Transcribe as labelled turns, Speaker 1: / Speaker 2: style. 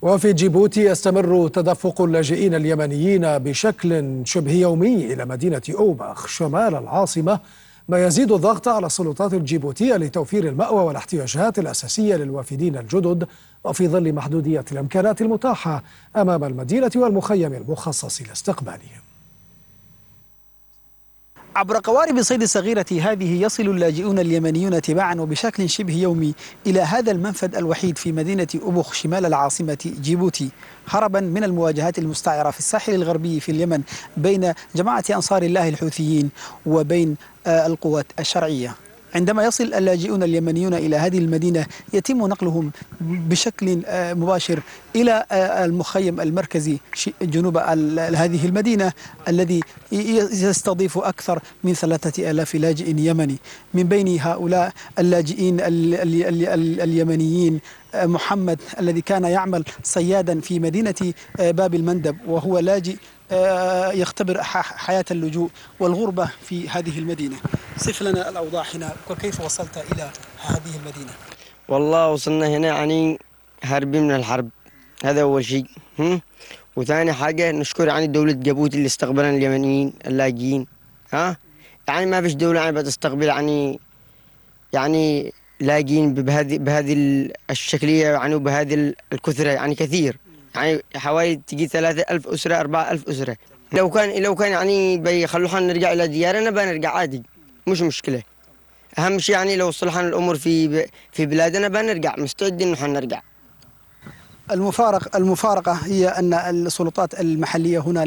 Speaker 1: وفي جيبوتي يستمر تدفق اللاجئين اليمنيين بشكل شبه يومي إلى مدينة أوباخ شمال العاصمة، ما يزيد الضغط على السلطات الجيبوتية لتوفير المأوى والاحتياجات الأساسية للوافدين الجدد، وفي ظل محدودية الإمكانات المتاحة أمام المدينة والمخيم المخصص لاستقبالهم.
Speaker 2: عبر قوارب صيد الصغيرة هذه يصل اللاجئون اليمنيون تباعا وبشكل شبه يومي إلى هذا المنفذ الوحيد في مدينة أوبخ شمال العاصمة جيبوتي، هربا من المواجهات المستعرة في الساحل الغربي في اليمن بين جماعة أنصار الله الحوثيين وبين القوات الشرعية. عندما يصل اللاجئون اليمنيون إلى هذه المدينة يتم نقلهم بشكل مباشر إلى المخيم المركزي جنوب هذه المدينة الذي يستضيف أكثر من 3000 لاجئ يمني. من بين هؤلاء اللاجئين اليمنيين محمد الذي كان يعمل صيادا في مدينة باب المندب، وهو لاجئ يختبر حياة اللجوء والغربة في هذه المدينة. صف لنا الأوضاع هنا وكيف وصلت إلى هذه المدينة؟
Speaker 3: والله وصلنا هنا يعني هاربين من الحرب، هذا أول شيء. وثاني حاجة نشكر يعني دولة جيبوتي اللي استقبلنا اليمنيين اللاجئين. يعني ما فيش دولة يعني بتستقبل يعني لاجئين بهذه الشكلية يعني وبهذه الكثرة، يعني كثير، يعني حوالي تجي 3000 أسرة 4000 أسرة. لو كان يعني بيخلونا نرجع إلى ديارنا بنرجع عادي، مش مشكلة. أهم شيء يعني لو صلحنا الأمور في بلادنا بنرجع مستعدين إنه حنرجع.
Speaker 2: المفارقة هي أن السلطات المحلية هنا